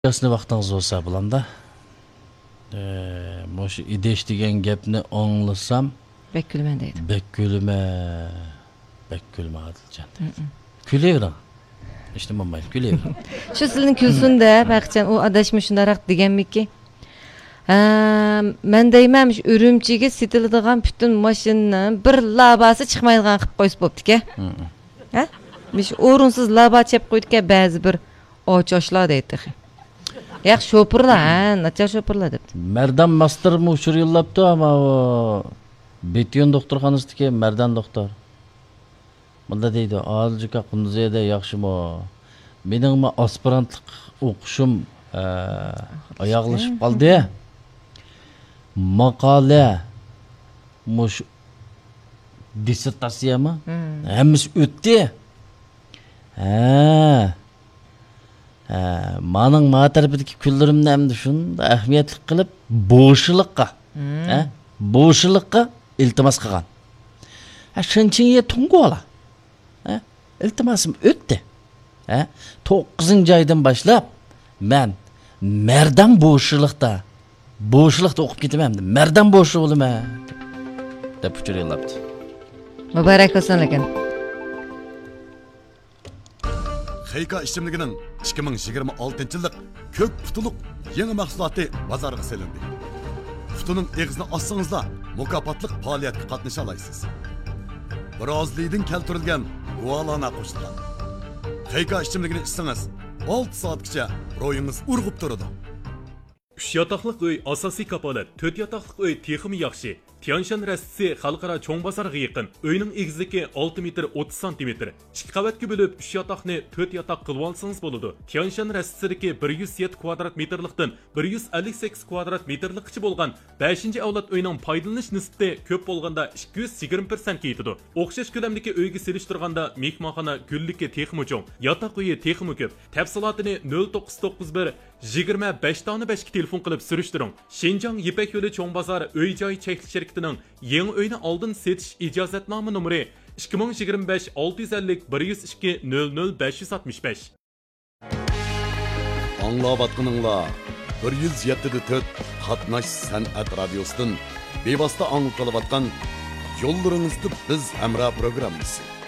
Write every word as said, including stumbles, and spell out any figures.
ياسىنى ۋاقتىڭىز بولسا بولامدا. ئە، مۇشۇ ئىدىش دېگەن گەپنى ئاڭلىسام، بەك كۈلىمەن دەيدۇ. بەك كۈلىمەن. بەك كۈلىمەن ئادىلجان دەيدۇ. كۈلۈۋېرىڭ. ھېچنېمە بولمايدۇ، كۈلۈۋېرىڭ. شۇ سىلىنى كۈلسۇن دەپ، ھەقىچان ئۇ ئاداش مۇشۇنداقراق دېگەنمىكى؟ ھە، مەن دەيمەن، مۇشۇ ئۈرۈمچىگە سېتىلىدىغان پۈتۈن ماشىنىنىڭ بىر لاباسى چىقمايدىغان قىلىپ قويسا بوپتىكەن. ھە؟ مۇشۇ ئورۇنسىز لابا چېپىپ قويدىكەن بەزى بىر ئاچاشلار دەيدۇ تېخى. ياق، شوپۇرلار، ھە، ناچار شوپۇرلار دەپتۇ. مەردان ماستېرمۇ ئۇچۇر يوللاپتۇ، ئەمما ئۇ بېتيون دوختۇرخانىسىدىكى مەردان دوختۇر. مۇندا دەيدۇ، ئادىلجاكا، قۇندۇزىيەدە ياخشىمۇ؟ مېنىڭمۇ ئاسپىرانتلىق ئوقۇشۇم، ئە، ئاياغلىشىپ قالدى. ماقالە، مۇشۇ دىسسېرتاتسىيەمۇ؟ ھەممىسى ئۆتتى. ھە. ھە، مانىڭ ما تەرىپىدىكى كۈنلىرىمنى ئەمدى شۇنداق ئەھمىيەتلىك قىلىپ، بوشلۇققا، ھە، بوشلۇققا ئىلتىماس قىلغان. ھە، شېنچىڭيې تۇڭگۇلا. ھە، ئىلتىماسىم ئۆتتى. ھە، توققۇزىنچى ئايدىن باشلاپ مەن مەردان بوشلۇقتا، بوشلۇقتا ئوقۇپ كېتىمەن، مەردان بوشلۇق بولىمەن، دەپ ئۇچۇر يوللاپتۇ. مۇبارەك بولسۇن لېكىن. خېيكا ئىچىملىكىنىڭ ئىككى مىڭ يىگىرمە ئالتىنچى يىللىق كۆك پۇتۇلۇق يېڭى مەھسۇلاتى بازارغا سېلىندى. پۇتىنىڭ ئېغىزىنى ئاچسىڭىزلا، مۇكاپاتلىق پائالىيەتكە قاتنىشالايسىز. برازىلىيىدىن كەلتۈرۈلگەن گۇالانا قوشۇلغان خېيكا ئىچىملىكىنى ئىچسىڭىز، ئالتە سائەتكىچە روھىڭىز ئۇرغۇپ تۇرىدۇ. ئۈچ ياتاقلىق ئۆي ئاساسىي كاپالەت، تۆت ياتاقلىق ئۆي تېخىمۇ ياخشى. تيانشان رەستىسى خەلقئارا چوڭ بازارغا يېقىن. ئۆينىڭ ئېگىزلىكى ئالتە مېتىر ئوتتۇز سانتىمېتىر. ئىككى قەۋەتكە بۆلۈپ، ئۈچ ياتاقنى تۆت ياتاق قىلىۋالسىڭىز بولىدۇ. تيانشان رەستىسىدىكى بىر يۈز يەتتە كۋادرات مېتىرلىقتىن بىر يۈز ئەللىك سەككىز كۋادرات مېتىرلىققىچە بولغان بەشىنچى ئەۋلاد ئۆينىڭ پايدىلىنىش نىسبىتى كۆپ بولغاندا ئىككى يۈز يىگىرمە پىرسەنتكە يېتىدۇ. ئوخشاش كۆلەمدىكى ئۆيگە سېلىشتۇرغاندا مېھمانخانا گۈللۈكى تېخىمۇ چوڭ، ياتاق ئۆيى تېخىمۇ كۆپ. تەپسىلاتىنى نۆل توققۇز توققۇز بىر، يىگىرمە بەش دانە بەشكە تېلېفون قىلىپ سۈرۈشتۈرۈڭ. شىنجاڭ يىپەك يولى چوڭ بازار ئۆي جاي چەكلىك شىركىتىنىڭ يېڭى ئۆينى ئالدىن سېتىش ئىجازەتنامە نومۇرى ئىككى مىڭ يىگىرمە بەش ئالتە يۈز ئەللىك بىر يۈز ئىككى نۆل نۆل بەش يۈز ئاتمىش بەش. ئاڭلاۋاتقىنىڭلار بىر يۈز يەتتە دە تۆت قاتناش سەنئەت رادىيوسىدىن بىۋاسىتە ئاڭلىتىلىۋاتقان يوللىرىڭىزدا بىز ھەمراھ پروگراممىسى.